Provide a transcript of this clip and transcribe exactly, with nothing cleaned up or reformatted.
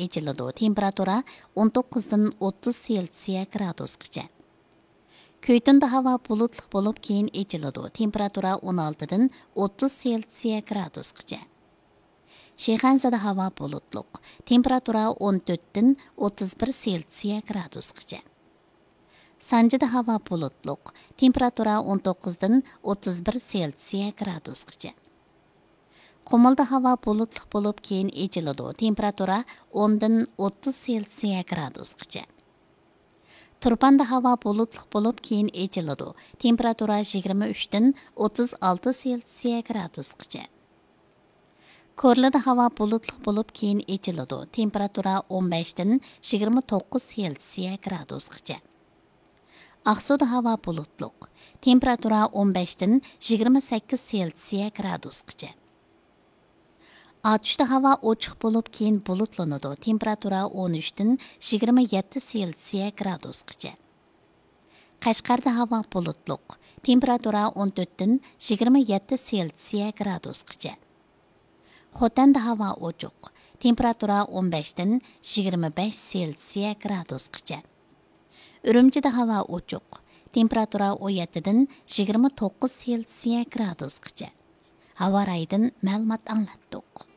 ئېچىلىدۇ، تېمپېراتۇرا ئون توققۇزدىن ئوتتۇز سېلسىيە گرادۇسقىچە. كۈيتۇندا ھاۋا بۇلۇتلۇق بولۇپ، كېيىن ئېچىلىدۇ، تېمپېراتۇرا ئون ئالتىدىن ئوتتۇز سېلسىيە گرادۇسقىچە. شىخەنزىدە ھاۋا بۇلۇتلۇق، تېمپېراتۇرا ئون تۆتتىن ئوتتۇز بىر سېلسىيە گرادۇسقىچە. سانجىدا ھاۋا بۇلۇتلۇق، تېمپېراتۇرا ئون توققۇزدىن ئوتتۇز بىر سېلسىيە گرادۇسقىچە. قۇمۇلدا ھاۋا بۇلۇتلۇق بولۇپ، كېيىن ئېچىلىدۇ، تېمپېراتۇرا ئوندىن ئوتتۇز سېلسىيە گرادۇسقىچە. تۇرپاندا ھاۋا بۇلۇتلۇق بولۇپ، كېيىن ئېچىلىدۇ، تېمپېراتۇرا يىگىرمە ئۈچتىن ئوتتۇز ئالتە سېلسىيە گرادۇسقىچە. كورلىدا ھاۋا بۇلۇتلۇق بولۇپ، كېيىن ئېچىلىدۇ، تېمپېراتۇرا ئون بەشتىن يىگىرمە توققۇز سېلسىيە گرادۇسقىچە. ئاقسۇدا ھاۋا بۇلۇتلۇق، تېمپېراتۇرا ئون بەشتىن يىگىرمە سەككىز سېلسىيە گرادۇسقىچە. ئاتۇشتا ھاۋا ئوچۇق بولۇپ، كېيىن بۇلۇتلىنىدۇ، تېمپېراتۇرا ئون ئۈچتىن يىگىرمە يەتتە سېلسىيە گرادۇسقىچە. قەشقەردە ھاۋا بۇلۇتلۇق، تېمپېراتۇرا ئون تۆتتىن يىگىرمە يەتتە سېلسىيە گرادۇسقىچە. خوتەندە ھاۋا ئوچۇق، تېمپېراتۇرا ئون بەشتىن يىگىرمە بەش سېلسىيە گرادۇسقىچە. ئۈرۈمچىدە ھاۋا ئوچۇق، تېمپېراتۇرا ئون يەتتىدىن يىگىرمە توققۇز سېلسىيە گرادۇسقىچە. ھاۋا رايىدىن مەلۇمات ئاڭلاتتۇق.